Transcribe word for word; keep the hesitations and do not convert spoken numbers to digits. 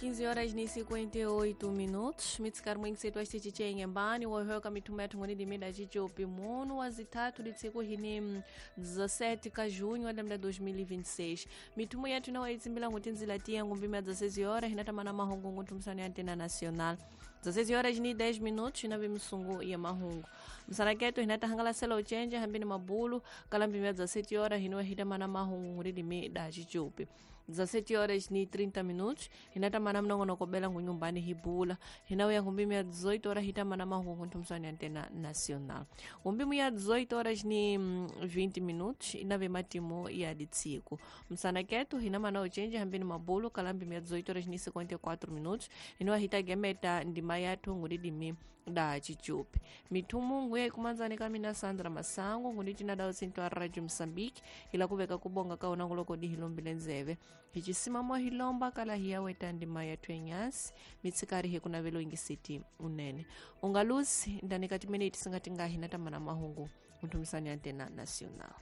quinze horas e cinquenta e oito minutos. Mitsikari mwingi setu chiche nyembani wohoka mitume yathu ngoni dimida chichopi mono wazitatu litsiku hini dezessete ka junho wa dois mil e vinte e seis. Mitumo yathu nawa itsimbila ngutinzila tiya ngumbima dezesseis horas hinatamana mahungu ngutumsani ya Antena Nacional. dezesseis horas e dez minutos na vimsungu ya mahungu. Msanaketo hinata hangala sela uchenje hambini mabulu kalambimia dezessete horas hinuwa hitamana mahungu nguridimi da chichopi. dezessete horas e trinta minutos hinatamana mnongonokobela ngunyumbani hibula hinauya ngumbimu ya dezoito horas hitamana mahungu ntumsani Antena Nacional. Ngumbimu ya dezoito horas e vinte minutos inave matimu ya ditsiku. Msanaketo hinamana uchenje hambini mabulu kalambimia dezoito horas e cinquenta e quatro minutos hinuwa hitagemeta ndima yathu nguridimi da chichupi. Mithumu nguya ikumanzani kamina Sandra Masango ngunitina dao sinto a Radio Moçambique ila kuveka kubonga kaona nguloko dihilombile nzeve. Hichisimamo hilomba kala hiyaweta ndima yathu enyasi mitsikari hikunavelo ingisiti unene. Ungalusi ndani kati minute singati ngahi natamana mahungu mthumisani Antena Nacional.